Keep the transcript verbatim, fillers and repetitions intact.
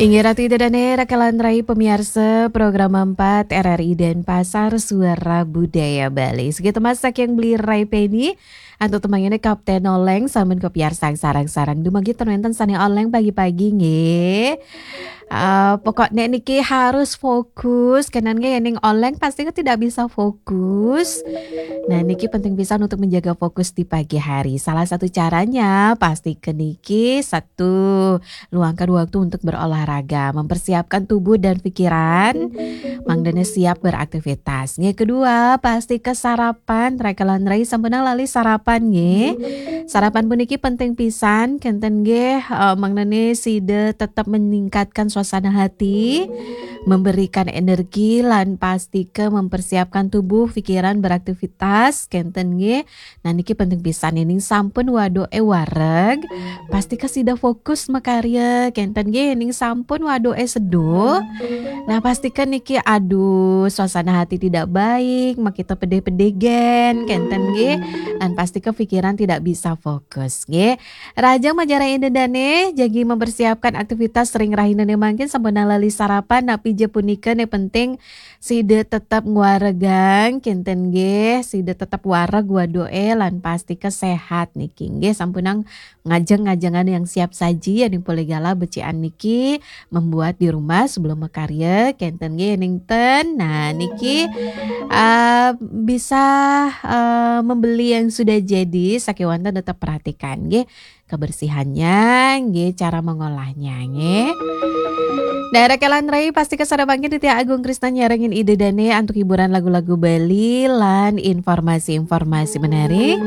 Inggih ratu ida dané, raka lan rai pamiarsa Program empat R R I Denpasar, Suara Budaya Bali. Sagitu masa kang beli rai Penny, antuk tembangina Kapten Oleng, sampun kapiarsang sareng-sareng. Dumadak ten wénten sané oleng pagi-pagi nggih. Eh, pokoknya niki harus fokus, kénten nggih, ning oleng pasti kan tidak bisa fokus. Nah, niki penting pisan untuk menjaga fokus di pagi hari. Salah satu caranya pasti ke niki satu, luangkan waktu untuk berolahraga, mempersiapkan tubuh dan pikiran, mangdané siap beraktivitas. Nggih, kedua, pasti ke sarapan, raka lan rai sampunang lali sarapan nggih. Sarapan puniki penting pisan, kénten nggih, eh, mangdané sida tetap meningkatkan suasana hati, memberikan energi lan pasti ke mempersiapkan tubuh, pikiran beraktivitas, kénten nggih. Nah, niki penting pisan, ning sampun wadoké wareg, pasti ke sida fokus makarya, kénten nggih, ning sampun wadoké seduh. Nah, pasti ke niki aduh, suasana hati tidak baik, makita pedih-pedih gén, kénten nggih. Lan pasti ke pikiran tidak bisa fokus nggih. Rahajeng majeng rai ida dané, jagi mempersiapkan aktivitas ring rahinané mangkin, sampunang lali sarapan, napi ja punika né penting sida tetap ngwaregang, kénten nggih, sida tetap wareg wadoké lan pasti ke sehat niki nggih. Sampunang ngajeng-ngajengan yang siap saji, yéning polih galah becikang niki membuat di rumah sebelum makarya, kénten nggih, yéning ten. Nah, niki, eh, bisa, eh, membeli yang sudah jadi, sakéwanten tetap perhatikan nggih kebersihannya, nggih, cara mengolahnya nggih. Daerah Kelan Rai pasti ke sada mangkin Ditya Agung Krisna nyarengin ida dané antuk hiburan lagu-lagu Bali lan informasi-informasi menarik.